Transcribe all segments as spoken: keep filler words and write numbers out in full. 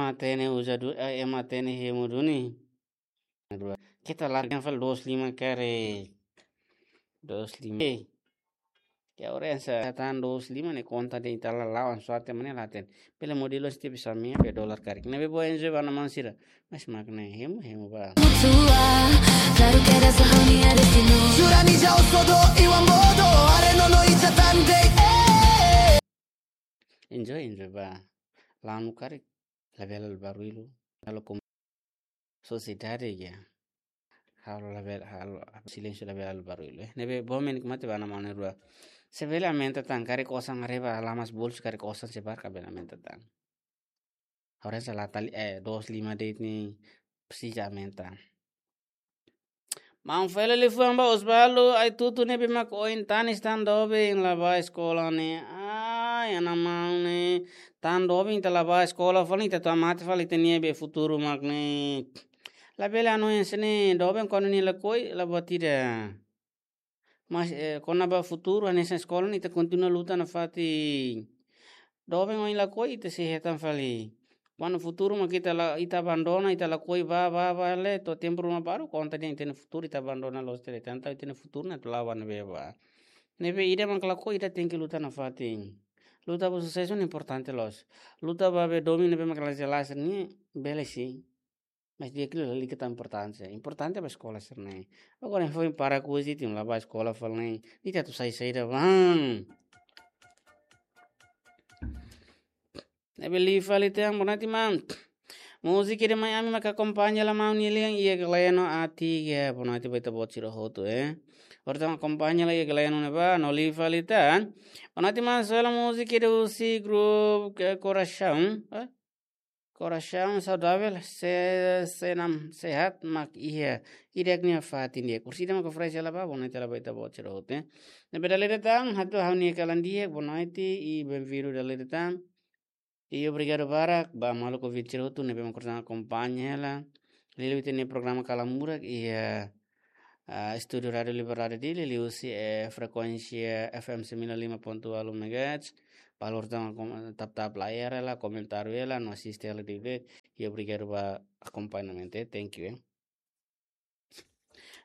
Ema hatene uza du-, eh, ema hatene hemu duni. Keta larga fali dos lima karik. Dos lima. Eh. Ke orensa tan dos lima ne'e konta de'it ita la lawan suate mane laten. Bele modelo setiap bisa mia be dolar karik. Ne'ebé bele enjoy ba ema sira. Mas mak ne'e hemu, hemu ba. Mutua, claro que eres la única destino. Jura ni jauh sodo, iwan bodo, are no no ita tan de'it, eh. Enjoy, enjoy ba. Lanu karik, labele barullu. Halo kom-, sosiedade ya. Halo labele, halo silénsiu, labele barullu. Eh, ne'ebé bom en mate ba ema na'in-rua. Se bele aumenta tan, karik osan haree ba lamas bolsu, karik osan sebar ka bele aumenta tan. Orensa la tali, eh, dos lima de'it ne'e presiza aumenta. Maun fali liafuan ba Osvaldo, ai tutu ne'ebé mak oin tanis tan doben la bá eskola ne'e. Ai, ana maun ne'e, tan doben ita la bá eskola fali ita atu amate fali ita-nia be futuru mak ne'e. Labele hanoin hanesan ne'e, doben kuandu nia lakohi, la buat ida. Mas, eh, kona-ba futuru, hanesan eskola ne'e ita kontinua luta nafatin. Doben oin lakohi ita sei hetan fali. Kuandu futuru mak ita la, ita abandona, ita lakohi bá, bá, bá, le, to'o tempu ruma baru, konta dehan ita-nia futuru, ita abandona loos tiha de'it, entaun ita-nia futuru ne'e atu la'o ba ne'ebé bá. Ne'ebé ida mak lakohi, ida tenke luta nafatin. Luta ba susesu ne'e importante loos. Luta ba be domin ne'ebé mak la jelas ne'e, bele sin. Mas di'ak liu lalika tan importante. Importante ba eskola sira-ne'e. Agora foin para ku isi tim la bá eskola fali ne'e. Ita atu sai saida bá. Ne'ebé liu fali tan, boa noite, maun. Múzika ida mai ami mak akompaña hela maun nia lian iha Gleno A tiga. Boa noite ba ita-boot sira hotu, eh. Orsida mak akompaña hela iha Gleno ne'ebá, no liu fali tan. Boa noite, maun, só hela múzika ida husi grupu ke Coração, eh? Coração saudável, se, senam sehat mak iha. Ida-ne'e fatin di'ak. Orsida mak oferese hela ba, boa noite hela ba ita-boot sira hotu, eh. Ne'ebé dala ida tan, hato'o ha'u-nia kalan di'ak, boa noite, i bem-vindo dala ida tan. I obrigadu barak ba maluk ouvinte sira hotu ne'ebé mak orsida akompaña hela. Liuliu ita-nia programa Kalan Murak iha, ah, estúdiu Rádiu Liberdade Dili, liuhusi, eh, frekuénsia F M sembilan lima ponto walu megahertz. Ba orsida kom-, tap-tap layar hela, komentáriu hela, no asiste hela di'ak. I obrigadu ba akompañamentu, eh. Thank you, eh.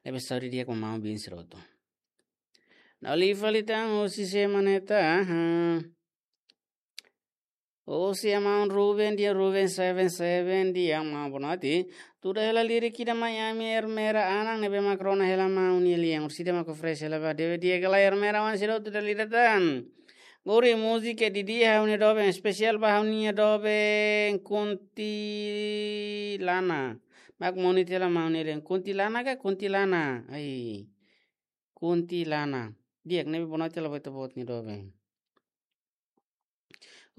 Ne'ebé saúde di'ak ba maun bin sira hotu. No liu fali tan husi sé mak ne'e tan, aha. Husi maun Ruben, di'ak, Ruben seven seven, di'ak maun, boa noite. Tuda hela lirik ida mai ami Ermera Anan ne'ebé mak rona hela maun nia lian. Orsida mak oferese hela ba, di'ak, di'ak ka lae Ermera, wan sira hotu dala ida tan. Guri múzika didi'ak ha'u-nia doben, espesiál ba ha'u-nia doben Kuntilana. Mak monu tiha hela maun nia lian. Kuntilana ka Kuntilana? Ai. Kuntilana. Di'ak, ne'ebé boa noite hela ba ita-boot nia doben.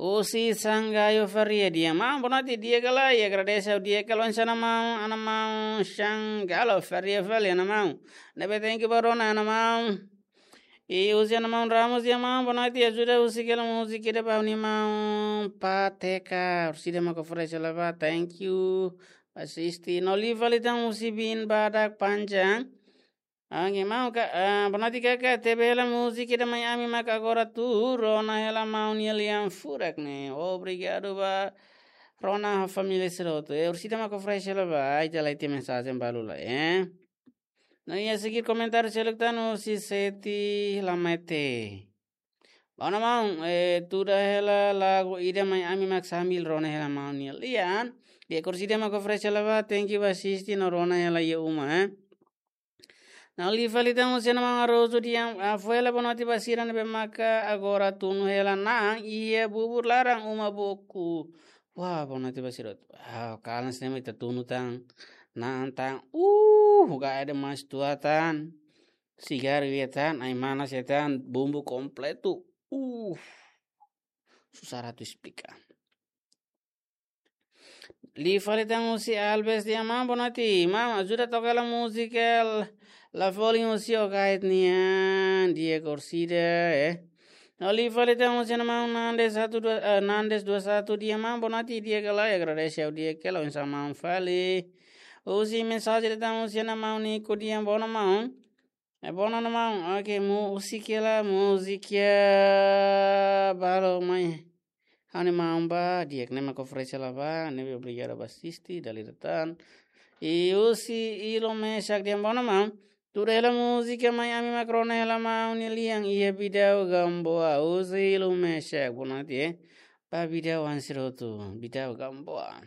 Husi Sangayo Faria, di'ak maun, boa noite, di'ak ka lae, agradese ha'u di'ak ka lae, oinsá maun, ana maun Sangayo Faria fali, ana maun. Ne'ebé thank you ba rona, ana maun. I husi ana maun Ramos, di'ak maun, boa noite, ajuda husik hela múzika ida ba ha'u-nia maun Pateka, orsida mak oferese hela ba, thank you. Asiste, no liu fali tan husi bin badak panjang. Oke, maun ka, ah, boa noite kaka, tebe hela múzika ida mai ami mak agora atu rona hela maun nia lian furak ne'e. Obrigadu ba rona família sira hotu. Eh, orsida mak oferese hela ba, ai, ita la iha mensajen balu lai, eh. No iha seguir komentáriu seluk tan husi Seti Lamete. Boa noite maun, eh, tuda hela lagu ida mai ami mak sambil rona hela maun nia lian. Di'ak, orsida mak oferese hela ba, thank you ba asiste no rona hela iha uma, eh. No liu fali tan husi ana maun Arozu, di'ak, ah, fó hela boa noite ba sira ne'ebé maka agora tunu hela na'an iha bubur laran uma boku. Wah, boa noite ba sira. Ah, kalan sira ne'e mak ita tunu tan. Na'an tan. Uh, gaya demais tua tan. Sigaru iha tan, ai-manas iha tan, bumbu kompletu. Uh, susar atu esplika. Liu fali tan husi Albes, di'ak maun, boa noite. Maun, ajuda toka hela múzika la, la folin husi Okait nian, di'ak, orsida, eh. No liu fali tan husi ana maun Nandes satu dua, eh, Nandes dua satu, di'ak maun, boa noite, di'ak ka lae, agradese ha'u di'ak ka lae, oinsá maun fali. Husi mensajen tan husi ana maun Niko, di'ak, boa noite maun. Eh, boa noite maun. Oke, múzika la, múzika balu mai. Ha'u-nia maun ba, di'ak, ne'e mak oferese hela ba, ne'ebé obrigadu ba asiste, dala ida tan. I husi Ilo Mesak dehan: Bono maun, tuur hela múzika Mai Ami mak rona hela maun nia lian iha Bidau Gamboa, husi Ilo Mesak, bonoite, eh. Ba Bidau hanesan hotu, Bidau Gamboa.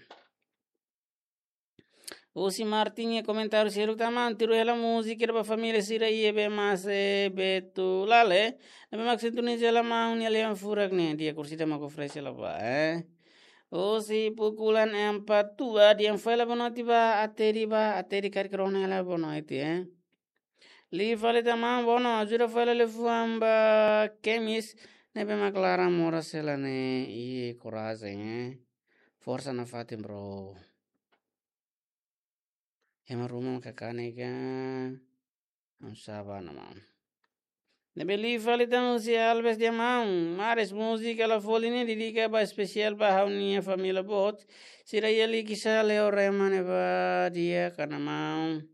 Husi Martin nia komentáriu seluk tan: Maun, tuur hela múzika ida ba família sira iha Bemase, Betulale, ne'ebé mak sintoniza hela maun nia lian furak ne'e, di'ak, orsida mak oferese hela ba, eh. Husi Pukulan Empat Tua dehan: Fó hela bonoite ba Ateri ba, Ateri karik rona hela bonoite, eh. Liu fali tan: Maun, bono, ajuda fó hela liafuan ba Kemis, ne'ebé mak laran moras hela ne'e, i korajen, eh. Forsa nafatin, bro. Ema ruma mak kanek ka. Ha'u sá ba, maun. Ne'ebé liu fali tan husi Alves dehan: Maun, Mares, múzika La Folia ne'e dedika ba espesiál ba ha'u-nia família boot sira iha Likisá, Leorema ne'ebá, di'ak ka lae, maun?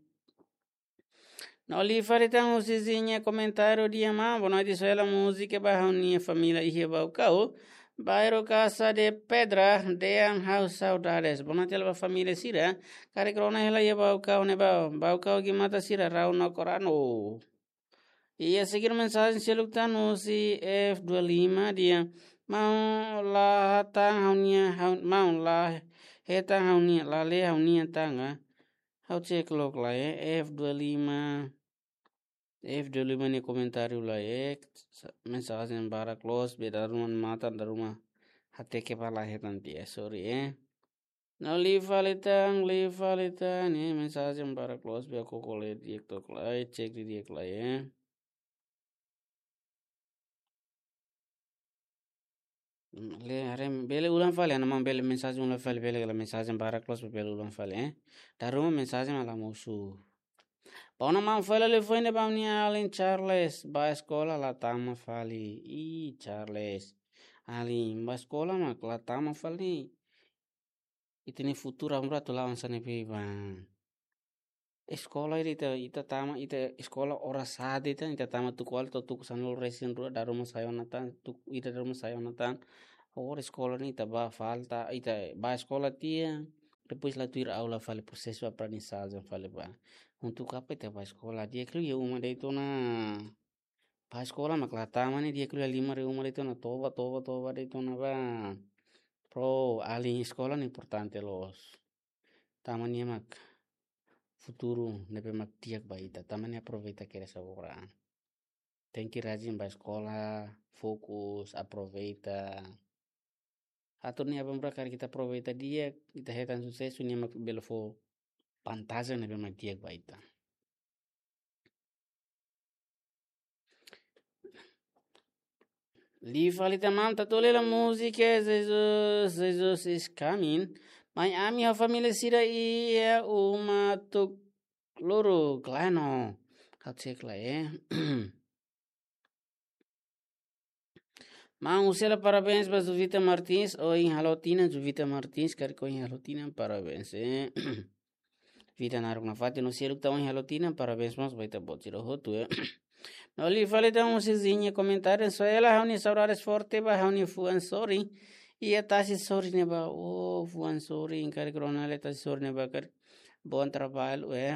No liu fali tan husi Zinha komentáriu dehan: Maun, bonoite, soe hela múzika ba ha'u-nia família iha Baucau, bairru Casa de Pedra, dehan ha'u saudades. Bonoite hela ba família sira karik rona hela iha Baucau ne'ebá, Baucau Gimata sira, Rau no Korano. I a seguir mensajen seluk tan husi F dua lima dehan: Maun, la hetan ha'u-nia, ha'u, maun, la hetan ha'u-nia, la lee ha'u-nia tanga. Ha'u cek loos lai, eh, F dua lima. F dua lima nia komentáriu lai, eh, sa-, mensajen barak loos, be dala ruma matan, dala ruma hateke ba la hetan tiha, sorry, eh. No liu fali tan, liu fali tan, eh, mensajen barak loos, be koko le di'ak tok lai, cek didi'ak lai, eh. Mm, le, haree, bele ulang fali, ana maun, bele mensajen ulang fali, bele kala mensajen barak loos, bele ulang fali, eh. Dala ruma mensajen mak la mosu. Bono maun, fó hela liafuan ba ha'u-nia alin Charles, ba eskola la tama fali. Ih, Charles. Alin, ba eskola mak la tama fali. Ita-nia futuru amra tu lawan sane pe ba. Eskola ida ita, ita tama, ita eskola oras sa'e ita, ita tama tuku ualu to'o tuku sanulu resin rua, dala ruma sai ona tan, tuku ida dala ruma sai ona tan. Agora eskola ne'e ita ba falta, ita ba eskola tiha, depois la tuir aula fali, prosesu aprendizajen fali ba. Untuk apa ita ba eskola? Di'ak liu iha uma de'it ona. Ba eskola mak la tama ne'e, di'ak liu halimar iha uma de'it ona, toba, toba, toba de'it ona ba. Pro, alin, eskola ne'e importante loos. Tama nia mak futuru ne'ebé mak di'ak ba ita. Tama nia aproveita kedas agora. Tenke rajin ba eskola, fokus, aproveita. Atu nune'e abang bra, karik ita aproveita di'ak, ita hetan susesu, nia mak bele fó vantajen ne'ebé mak di'ak ba ita. Liu fali tan maun, tatu hela múzika Jesus, Jesus is coming. Mai Ami ho família sira iha uma tok luru, klano. Ha'u cek lai, eh. Maun, husu hela parabéns ba Juvita Martins, ohin halo tinan, Juvita Martins, karik ohin halo tinan, parabéns, eh. Vida naruk nafatin, no seluk tan ohin halo tinan, parabéns mós ba ita-boot sira hotu, eh. No liu fali tan husi Zinha komentáriu, soe hela ha'u-nia saudades forte ba ha'u-nia fuan sorin iha tasi sorin ne'ebá, oh, fuan sorin, karik rona hela tasi sorin ne'ebá, karik. Bom trabalho, eh.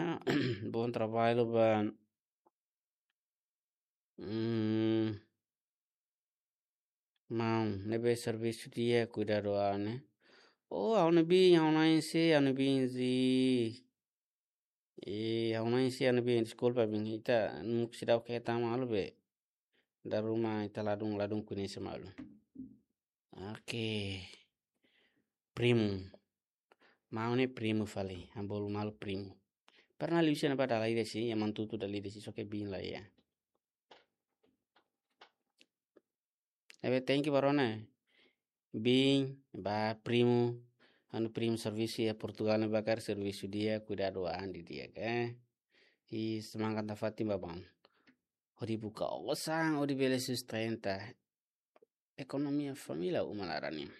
Bom trabalho ba. Hmm. Maun, ne'ebé servisu di'ak, kuidadu an ne'e. Oh, ha'u-nia biin, ha'u na'in-se, ha'u-nia biin zi. Eh, ha'u na'in-se, ha'u-nia biin, deskulpa biin, ita nunka seidauk hetan malu be. Dala ruma ita ladún, ladún koñese malu. Oke. Primu. Maun ne'e primu fali, ha'u bolu malu primu. Pernah liu sira-ne'e ba dala ida sih, ya mantutu dala ida sih, só ke biin la iha. Ne'ebé thank you ba rona. Biin, ba primu, ha'u-nia primu servisu iha Portugal ne'ebá karik servisu di'ak, kuidadu an didi'ak, eh. I semangat nafatin ba maun. Hodi buka osan, hodi bele sustenta ekonomia família uma laran nian.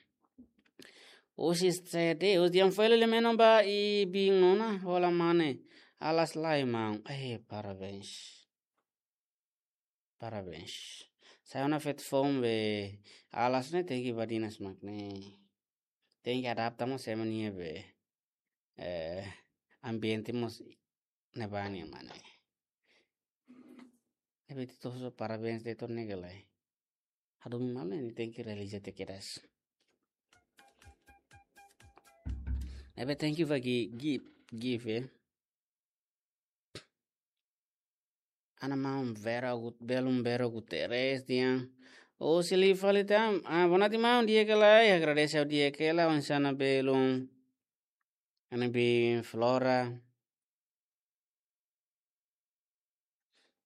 Husi C D, husi yang file le menon ba i biin nona, hola mane, alas lai maun. Eh, parabéns. Parabéns. Sai ona feto foun be alas ne'e tenke badinas mak ne'e. Tenke adapta mós ema nia be, eh, ambiente mós ne'ebá nian mak ne'e. Ne'ebé ita-boot sira parabéns de'it ona ne'e ka lae. Hadomi malu ne'e tenke realiza tiha kedas. Ne'ebé thank you ba Gi-, Gi-, Gift, eh. Ana maun Vera Gut-, belun Vera Guterres dehan. Husi liu fali tan, ah, boa noite maun, di'ak ka lae, agradese ha'u di'ak hela, oinsá ona belun. Ana biin Flora.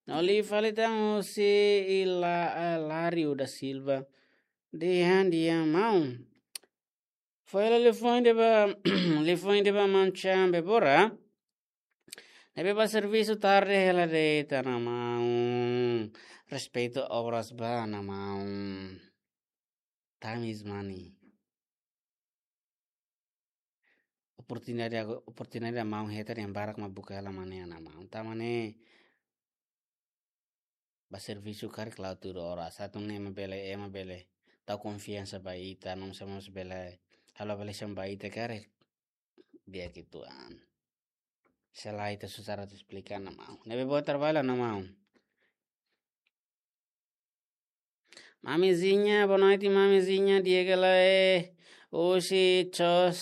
No liu fali tan husi Ila-, ah, Lário da Silva. Dehan, dehan maun. Fó hela liafuan ida ba, liafuan ida ba maun Chan Bebora. Ne'ebé bá servisu tarde hela de'it ona maun. Respeitu obras ba ona maun. Time is money. Oportunidade ago-, oportunidade maun hetan dehan barak mak buka hela mak ne'e ona maun. Tanba ne'e bá servisu karik la'o tuir oras. Atu nune'e ema bele, ema bele tau konfiansa ba ita, no mós ema mós bele, halo avaliasaun ba ita karik. Di'ak uitoan. Se lae ita susar atu esplika ona maun. Ne'ebé boa traballu ona maun. Mamizinha, boa noite, mamizinha, di'ak ka lae. Husi Chos,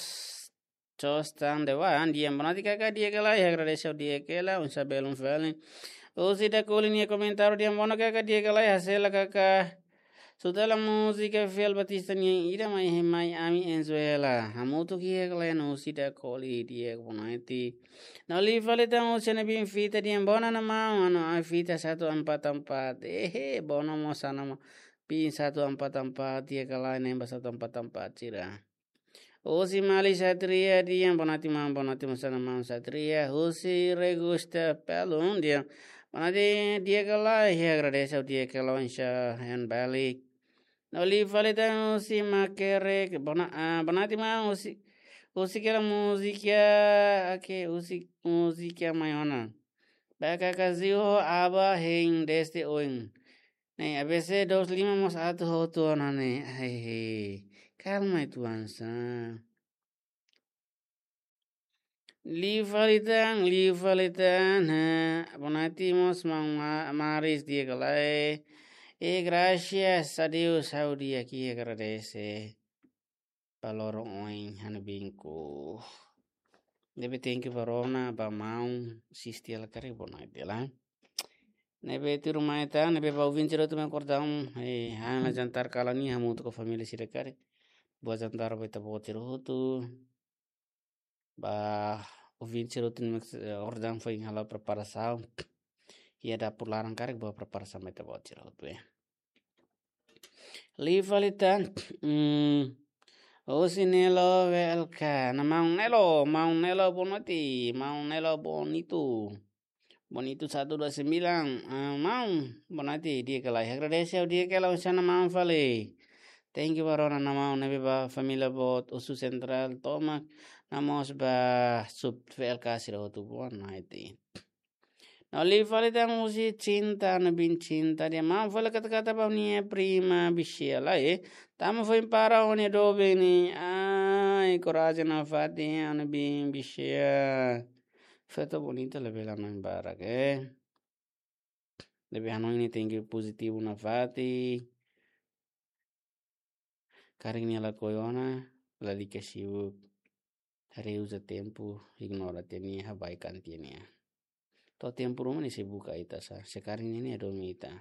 Chos tan de wan, dehan boa noite kaka, di'ak ka lae, agradese ha'u di'ak hela, oinsá belun fali. Husi Dakoli nia komentáriu dehan boa noite kaka, di'ak ka lae, ha'u sei la kaka. Eskuta hela múzika Fiel Batista nian ida mai, mai ami enjoy hela. Hamutuk iha kalian husi Dakoli di'ak, boa noite. No liu fali tan husi Ana Biin Fita dehan boa noite maun, anu ai fita satu empat empat. Ehe, boa noite mós Ana Biin satu empat empat, di'ak ka lae, ne'ebé satu empat empat sira. Husi Mali Satria dehan boa noite maun, boa noite mós ona maun Satria. Husi Regusta Pelun dehan boa noite, di'ak ka lae, agradese ha'u di'ak hela, oinsá iha Bali. No liu fali tan husi Makere, boa no-, ah, boa noite maun, husi, husik hela múzika, oke, husik múzika mai ona. Ba kaka Ziu ho Aba hein desde oin. Ne'e, A B C dois lima mós atu hotu ona ne'e. Ai, kalma uitoan sá. Liu fali tan, liu fali tan, ha, boa noite mós maun Ma-, Maris, di'ak ka lae. E, graças a Deus, ha'u di'ak, agradese. Ba loron oin, Ana Biin ku. Ne'ebé thank you ba rona, ba maun, sisti hela karik boa noite hela. Ne'ebé tuirmai tan, ne'ebé ba ouvinte sira hotu mai kordang, eh, ha'u halo jantar kalan ne'e hamutuk ho família sira karik. Boa jantar ba ita-boot sira hotu. Ba ouvinte sira hotu mai, eh, kordang foin halo preparasaun. Iha dapur laran karik boa preparasaun ba ita-boot sira hotu, eh. Liu fali tan, hmm, husi Nelo W L K. Nah, maun Nelo, maun Nelo boa noite, maun Nelo Bonito. Bonito satu dua sembilan, ah, maun, boa noite, di'ak ka lae, agradese ha'u di'ak hela, oinsá ona maun fali. Thank you ba rona ona maun, ne'ebé ba família boot Osu Sentrál tomak, no mós ba sub W L K sira hotu, boa noite. No liu fali tan husi Cinta, Ana Biin Cinta dehan maun fó hela kata-kata ba ha'u-nia prima bishia lai. Tanba foin para ha'u-nia doben ne'e. Ai, korajen nafatin, Ana Biin bishia. Feto bonita labele hanoin barak, eh. Labele hanoin ne'e tenke pozitivu nafatin. Karik nia lakohi ona, lalika sibuk. Reuza tempu, ignora tiha nia, habaikan tiha nia. To'o tempu ruma nia sei buka ita sá, se karik nia ne'e hadomi ita.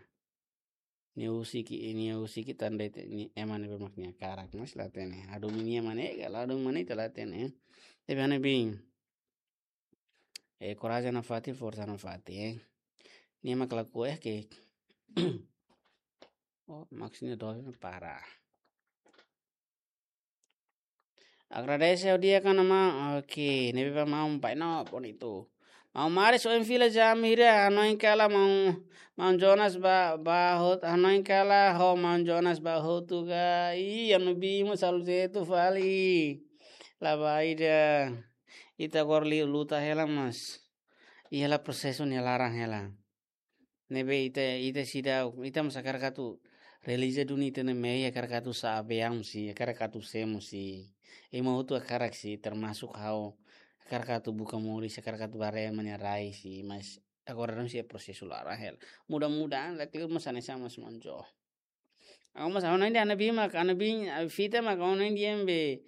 Nia husik, nia husik ita de'it, nia ema ne'ebé mak nia hakarak, mas la hatene. Hadomi nia ema ne'e ka, la hadomi ema ne'e ita la hatene. Tapi Ana Biin. Eh, korajen nafatin, forsa nafatin, eh. Nia mak lakohi, eh, ke. Oh, maksudnya doa para. Agradese ha'u di'ak ona maun. Oke, ne'ebé ba maun Baino Bonito. Maun Maris, ohin fila jam hira, hanoin kala maun, maun Jonas ba, ba hotu, hanoin kala ho maun Jonas ba hotu ka. Ih, Ana Biin mós halo jeitu fali. La ba ida. Ita agora liu luta hela mas. Iha hela prosesu nia laran hela. Ne'ebé ita, ita seidauk, ita mós hakarak atu Realiza duni ita-nia mehi, hakarak atu sa'e aviaun sira, hakarak atu semo sira. Ema hotu hakarak sira, termasuk ha'u. Hakarak atu buka moris, hakarak atu bá haree ha'u-nia rai sira, mas agora daudaun sira prosesu laran hela. Mudah-mudahan, la kleur mós hanesan mós manjo. Ha'u mós ha'u-nia hanoin dehan ha'u-nia biin mak, ha'u-nia biin, ah, fita mak ha'u-nia hanoin dehan be.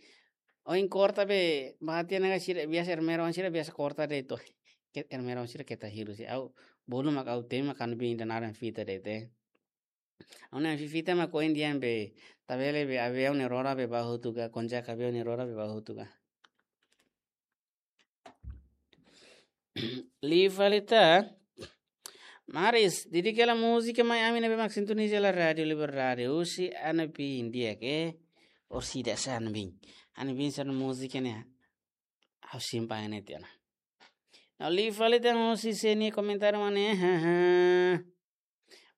Ohin korta be, bahati nia sira biasa ermera sira biasa korta de'it. Ke ermera sira keta hirus sira. Ha'u, bolu mak ha'u temi mak ha'u-nia biin ida naran fita de'it. Ha'u-nia fita mak ohin dehan be, ita bele be aviaun nia rora be bá hotu ka, konjak aviaun nia rora be bá hotu ka. Liu fali tan. Maris, didik hela múzika mai ami ne'ebé mak sintoniza hela Rádiu Liberdade. Husi ha'u-nia biin di'ak, orsida sá ha'u-nia biin. Ha'u-nia biin sá-nia múzika ne'e. Ha'u simpan ne'e tiha ona. Liu fali tan husi sé nia komentáriu mak ne'e. Haha.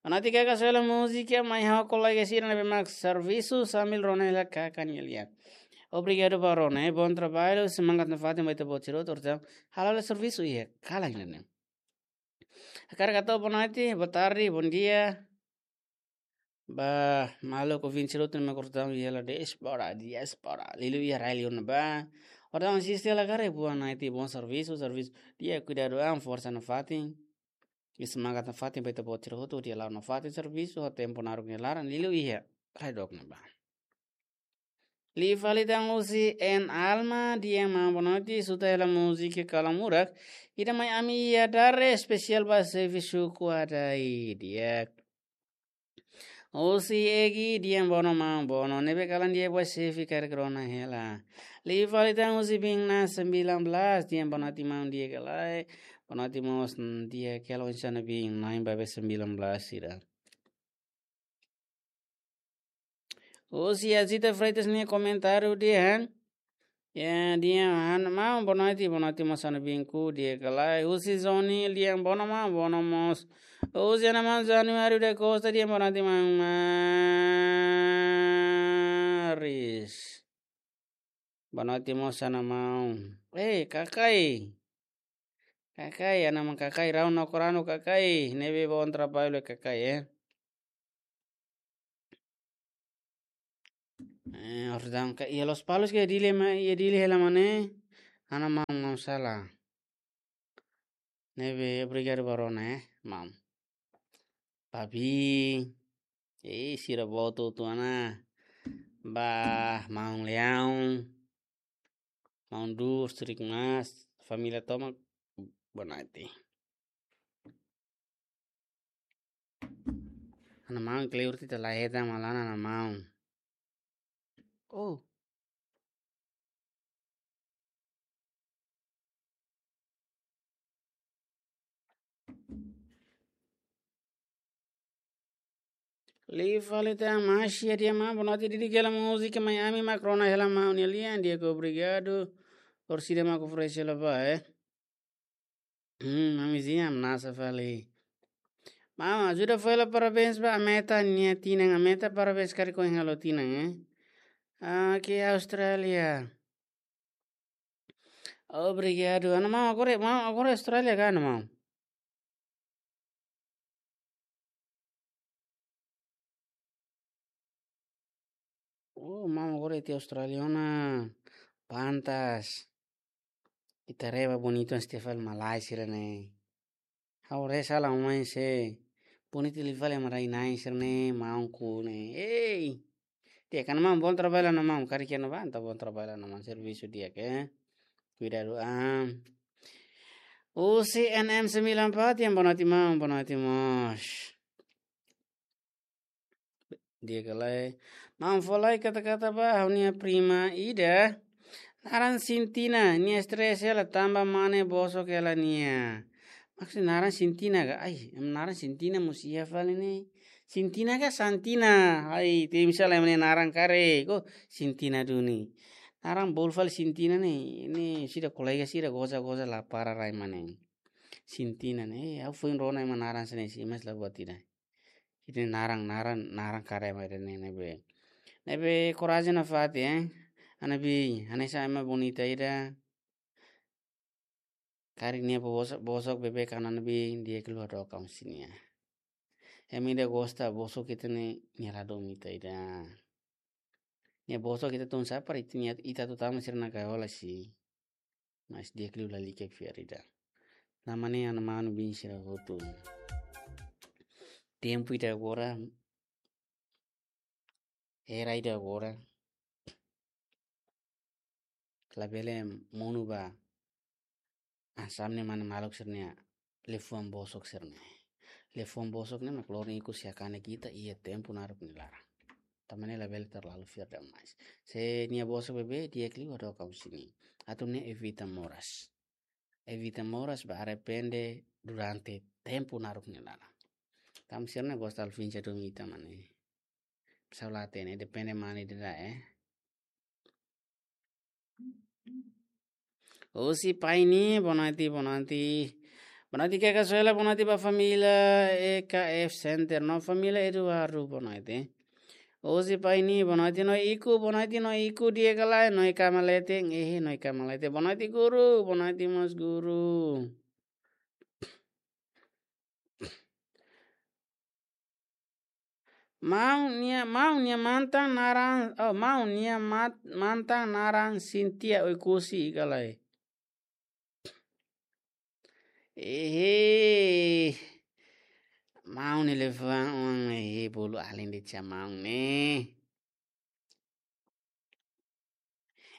Bonoite, kaka, sela múzika mai ha'u kolega sira ne'ebé mak servisu sambil rona hela kaka nia lian. Obrigadu ba rona, eh, bom trabalho, semangat nafatin ba ita-boot sira hotu, orsida halo hela servisu iha kalan ne'e. Hakarak hato'o bonoite, botarde, bondia. Ba maluk ouvinte sira hotu ne'ebé mak rona iha hela diáspora, diáspora. Liuliu iha rai-li'ur ne'ebá. Orsida asiste hela karik, bonoite, bom servisu, servisu. Di'ak, kuidadu an, forsa nafatin. I semangat nafatin ba ita-boot sira hotu, di'ak, la'o nafatin servisu, ho tempu naruk nia laran, liuliu iha rai dook ne'ebá. Liu fali tan husi N Alma, dehan maun bonoite, suta hela múzika Kalan Murak. Ida mai ami iha Dare, espesiál ba xefe suku Adai, di'ak. Husi Egi, dehan bono maun, bono. Ne'ebé kalan di'ak ba xefe karik rona hela. Liu fali tan husi Bingna sembilan belas, dehan bonoite maun, di'ak ka lae. Bonoite mós, mm, di'ak ka lae, oinsá ha'u-nia biin na'in-bebé sembilan belas sira. Husi Azita Freitas nia komentáriu dehan. Ya, dehan ha'u-nia maun, bonoite, bonoite mós ha'u-nia biin, di'ak ka lae. Husi Zoni, dehan bono maun, bono mós. Husi ha'u-nia maun Januário da Costa, dehan bonoite maun Maris. Bonoite mós ha'u-nia maun. Eh, Kakai. Kakai, ha'u-nia maun Kakai, Rau Nokorano Kakai, ne'ebé bom trabalho Kakai, eh. Eh, orsida ka iha Lospalos ka iha Dili ma, iha Dili hela mak ne'e, ha'u-nia maun, maun Sala. Ne'ebé obrigadu ba rona, eh, maun. Papi, eh, sira boot hotu ona. Ba maun Leão, maun Dus, Trik Mas, família tomak, bonoite. Ha'u-nia maun kleur tita laheta malan ha'u-nia maun. Oh. Liu fali tan Masia, dehan maun, bonoite, didik hela múzika mai ami mak rona hela maun nia lian, di'ak, obrigadu. Orsida mak oferese hela ba, eh. Hmm, mamizinha, hamnasa fali. Maun, ajuda fó hela parabéns ba Ameta nia tinan, Ameta parabéns karik ohin halo tinan, eh. Ah, ke Austrália. Obrigadu. Ha'u-nia maun agora, maun agora Austrália ka, ha'u-nia maun? Oh, maun agora iha Austrália ona. Pantas. Ita haree ba bonitu an setiap fali malae sira-ne'e. Ha'u haree sala mai se. Bonitu liu fali ema rai-na'in sira-ne'e, maunku ne'e. Ei. Di'ak, ha'u-nia maun, bom trabalho ha'u-nia maun. Karik iha ne'ebá entaun bom trabalho ha'u-nia maun. Servisu di'ak, eh. Kuidadu an. Husi N M sembilan empat, dehan bonoite maun, bonoite mós. Di'ak ka lae. Maun, fó lai kata-kata ba ha'u-nia prima ida. Naran Sintina, nia stress hela tanba mane bosok hela nia. Maksud naran Sintina ka? Ai, ema naran Sintina mós iha fali ne'e. Sintina ka Santina? Ai, temi sala ema nia naran karik. Ko Sintina duni. Naran bolu fali Sintina ne'e. Ne'e sira kolega sira goza-goza la para rai mane. Sintina ne'e. Eh, ha'u foin rona ema naran sira-ne'e, mas la buat ida. Ida-ne'e naran, naran, naran karik ema ida-ne'e, ne'ebé. Ne'ebé korajen nafatin, eh. Ha'u-nia biin, hanesan ema bonita ida. Karik nia bosok, bosok bebek ha'u-nia biin, di'ak ka lae, doakan husi nia. Ema ida gosta bosok ita-nia, nia la domin ita ida. Nia bosok ita tun sapa ita nia, ita atu tama sira-nia gaiola si. Mas di'ak liu lalika fiar ida. Tanba ne'e ana manu biin sira hotu. Tempu ida agora, era ida agora, labele monu ba hanesan ne'e mane maluk sira-nia liafuan bosok sira-ne'e. Liafuan bosok ne'e mak lori ikus iha kanek ita iha tempu naruk nia laran. Tanba ne'e labele terlalu fiar demais. Se nia bosok beibeik, di'ak liu hadook husi nia. Atu nune'e evita moras. Evita moras ba arrepende durante tempu naruk nia laran. Tanba sira-ne'e gosta alfinja dong ita mane. Pessoal la hatene, depende mane ida, eh. Husi Paini, boa noite, boa noite. Boa noite, Keka Suela, boa noite ba família E K F Center, no família Eduardo, boa noite. Husi Paini, boa noite, no iku, boa noite, no iku, di'ak ka lae, no iku malete, eh, no iku malete. Boa noite, guru, boa noite, mós guru. Maun nia, maun nia mantan naran, oh, maun nia mat-, mantan naran Sintia Oekusi ka lae. Ehe. Maun ne'e liafuan, ehe, bolu alin de cha maun ne'e.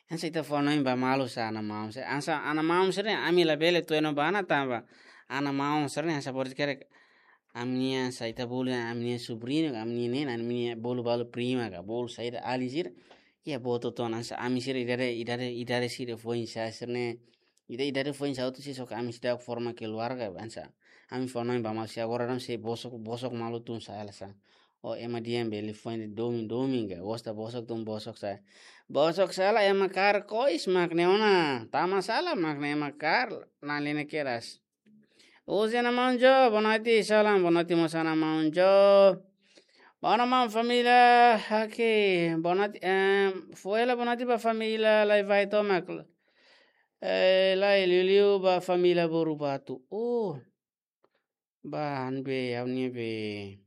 Hanesan ita fó hanoin ba malu sa ana maun sira. Hanesan ana maun sira ne'e ami labele tuir ona ba ana tanba ana maun sira ne'e hanesan bolu karik ami-nia hanesan ita bolu ami-nia sobriñu, ami-nia nena, ami-nia bolu balu prima ka, bolu saida alin sira. Iha boot ona hanesan ami sira idade, idade, idade sira foin sa sira ne'e. Ida, idade foin sa hotu sira só ke ami seidauk forma keluarga hanesan. Ami fó hanoin ba malu sira agora ami sei bosok, bosok malu tun sa hela sa. Oh, ema di'ak bele foin domin, domin ka, gosta bosok tun bosok sa. Bosok sala ema kaer kois mak ne'e ona. Tama sala mak ne'e ema kaer, na lene keras. Husi ana maun Jo, boa noite, salam, boa noite mós ana maun Jo. Boa noite maun família, oke, boa noite, em, foin hela boa noite ba família, lai vai tomak. Eh, lai liuliu ba família Borubatu. Oh, ba han be, ha'u-nia be.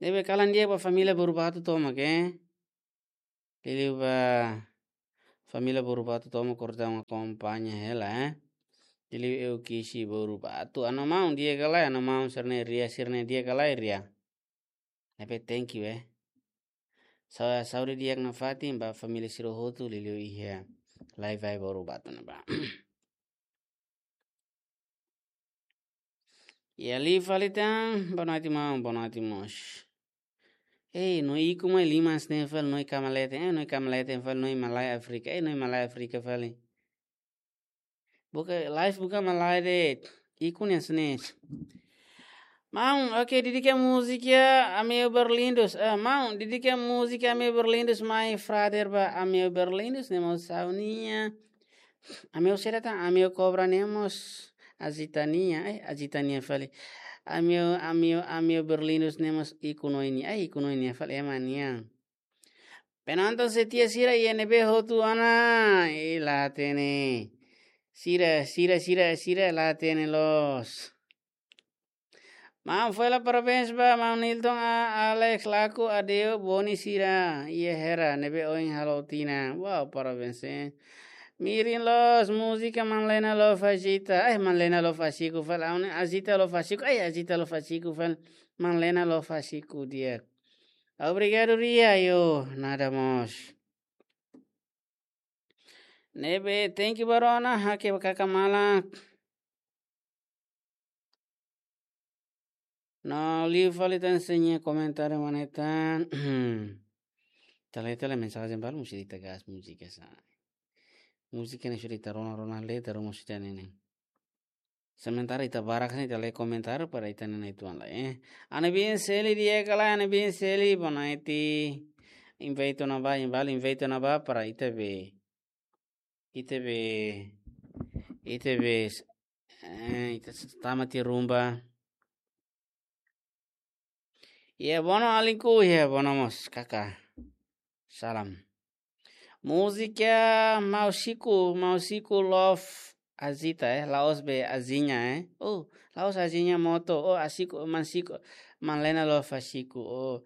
Ne'ebé kalan di'ak ba família Borubatu tomak, eh. Liuliu ba família Borubatu tomak, kordang akompaña hela, eh. Liuliu Eukisi Borubatu. Ana maun di'ak ka lae, ana maun sira-ne'e Ria, sira-ne'e di'ak ka lae Ria. Ne'ebé thank you, eh. Sa-, saúde di'ak nafatin ba família sira hotu liuliu iha lai vai Borubatu ne'ebá. Iha liu fali tan, boa noite maun, boa noite mós. Ei, no iku mai liman sne fali, no iku malete, eh, no iku malete fali, no iku malae Áfrika, eh, no iku malae Áfrika fali. Buka, live buka malae de'it, iku ne'e sne. Maun, oke, dedika múzika Ameu Berlindos. Ah, maun, dedika múzika Ameu Berlindos, mai frader ba Ameu Berlindos, ne'e mós ha'u-nia. Ameu sira tan, Ameu Kobra ne'e mós Azita nia, eh, Azita nia fali. Ameu, Ameu, Ameu Berlindos ne'e mós iku no nia, eh, iku no nia fali ema nian. Penonton setia sira iha ne'ebé hotu ona, eh, la hatene. Sira, sira, sira, sira, la hatene loos. Maun, foin hela parabéns ba maun Nilton, a, Alex, Laku, Adeu, Boni sira, iha hera ne'ebé ohin halo tinan. Wow, parabéns, eh. Mirin loos, múzika Manlena Love Azita. Ai, Manlena Love Aziku fali, aun Azita Love Aziku. Ai, Azita Love Aziku fali, Manlena Love Aziku di'ak. Obrigadu, Ria, yo, nada mós. Ne'ebé, thank you, Barona, hake ba kaka malak. No, liu fali tan sira-nia komentáriu mane tan. Tale, tale mensajen balu musti ita gas múzika sa. Múzika ne'e sudah ita rona, rona le, ita rona sudah ne'e. Sementara ita barak sini ita lee komentáriu para ita-nia nai-tuan lai, eh. Ana biin Seli di'ak ka lae, ana biin Seli, boa noite. Invite ona ba, invite, invite ona ba para ita be. Ita be. Ita be. Eh, ita s-, tama tiha rumba. Iha Bono alinku, iha Bono mós, kaka. Salam. Múzika Mausiku, Mausiku Love azita, eh, la'ós be aziña, eh. Oh, la'ós aziña moto, oh, asiku, man siku, man lena lo fasiku, oh.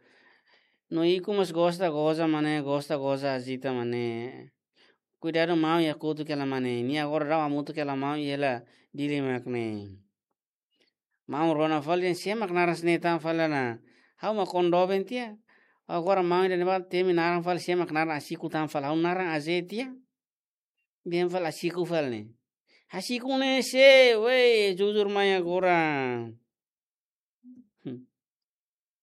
No ikus mós gosta goza, mane, gosta goza azita, mane. Kuidadu maun iha kotuk hela, mane. Nia agora daudaun hamutuk hela maun iha hela Dili mak ne'e. Maun rona fali, sé mak naran sira-ne'e tan fali ona. Ha'u mak kondoo ben tiha. Agora maun ida-ne'ebá temi naran fali, sé mak naran asiku tan fali. Ha'u naran Azé tiha. Dehan fali asiku fali ne'e. Asiku ne'e sé, wei, jujur mai agora.